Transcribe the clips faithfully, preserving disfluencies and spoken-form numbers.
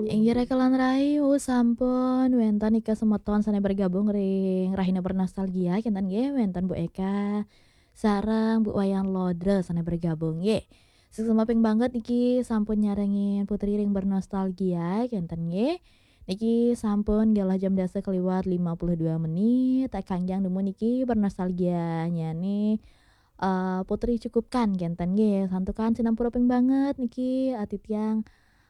Inggih raka lan rai, sampun wénten nika semeton sané bergabung ring Rahina Bernostalgia, kénten nggih, wénten Bu Eka sareng Bu Wayan Lodra sané bergabung nggih. Suksma ping banget niki sampun nyarengin Putri ring Bernostalgia, kénten nggih. Niki sampun galah jam dasa kaliwat lima puluh dua menit, tak kangjang nemu niki bernostalgianya nih eh, Putri cukupkan kénten nggih. Santukan sinampura ping banget niki, eh, titiang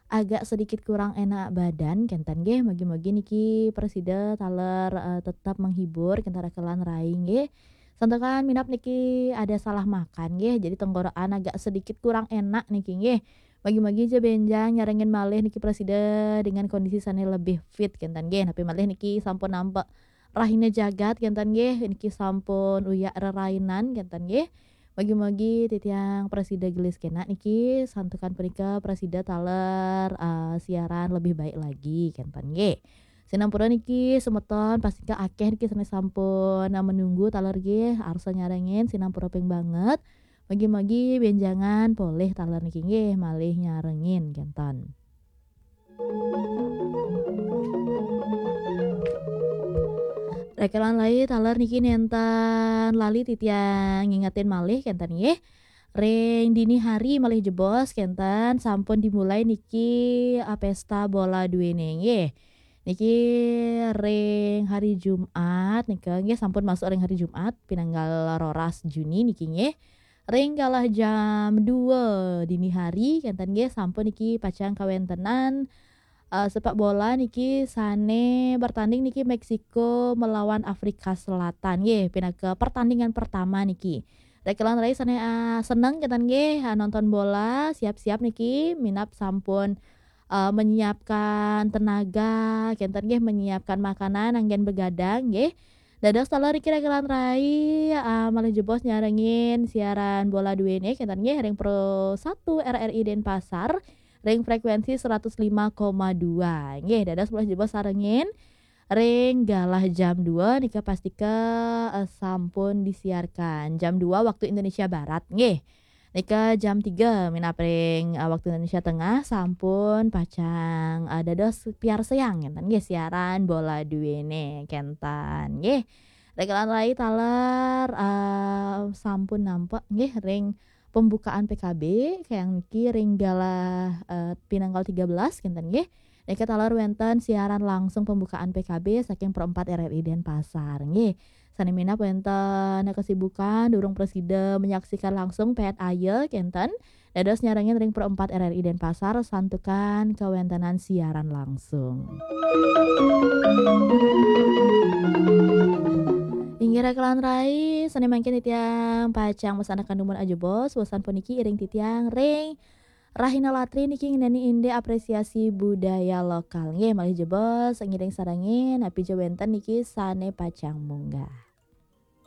agak sedikit kurang enak badan kénten nggih. Mugi-mugi niki prasida taler, eh, tetap menghibur kénten raka lan rai nggih. Santukan minab niki ada salah makan nggih. Jadi tenggorokan agak sedikit kurang enak niki nggih. Mugi-mugi ja bénjang nyarengin malih niki prasida dengan kondisi sané lebih fit kénten nggih. Napi malih niki sampun nampek Rahina Jagat kénten nggih, niki sampun uyak rerainan kénten nggih. Mugi-mugi titiang prasida gelis kénak niki, santukan punika prasida taler, eh, siaran lebih baik lagi kénten nggih. Sinampura niki semeton pastika akéh niki sané sampun, eh, menunggu taler nggih, arsa nyarengin sinampura ping banget. Mugi-mugi bénjangan polih taler niki nggih, malih nyarengin kénten. Raka lan rai taler niki nénten lali titiang ngingetin malih kénten nggih. Ring dini hari malih jebos kénten sampun dimulai niki, ah, pesta bola duéné nggih. Niki ring hari Jumat nika nggih sampun masuk ring hari Jumat pinanggal roras Juni niki nggih. Ring galah jam dua dini hari kénten nggih sampun niki pacang kawéntenan, eh, sepak bola niki sané bertanding niki Meksiko melawan Afrika Selatan nggih pinaka pertandingan pertama niki. Raka lan rai sané, eh, seneng kénten nggih, eh, nonton bola, siap-siap niki minab sampun, eh, menyiapkan tenaga kénten nggih, menyiapkan makanan anggén begadang nggih. Dados taler niki raka lan rai, ah, malih jebos nyarengin siaran bola duéné kénten nggih ring Pro satu R R I Denpasar ring frekuensi seratus lima koma dua. Nggih, dados malih jebos sarengin ring galah jam dua nika pastika, eh, sampun disiarkan. Jam dua waktu Indonesia Barat. Nggih. Nika jam tiga minab ring, eh, waktu Indonesia Tengah sampun pacang, eh, dados piarsayang kénten nggih siaran bola duéné kénten nggih. Raka lan rai taler, eh, sampun nampek nggih ring pembukaan P K B kayang niki ring galah, eh, pinanggal tiga belas kénten nggih. Nika taler wénten siaran langsung pembukaan P K B saking Pro empat R R I Denpasar. Nggih, sané minab wénten kesibukan durung prasida menyaksikan langsung pét aya kénten. Dados nyarengin ring Pro empat R R I Denpasar santukan kawéntenan siaran langsung. Inggih raka lan rai, sané mangkin titiang pacang wasanaken dumun ajebos, wasan puniki iring titiang ring Rahina Latri niki ngenani indik apresiasi budaya lokal. Nggih, malih jebos ngiring sarengin, napi ja wénten niki sané pacang munggah.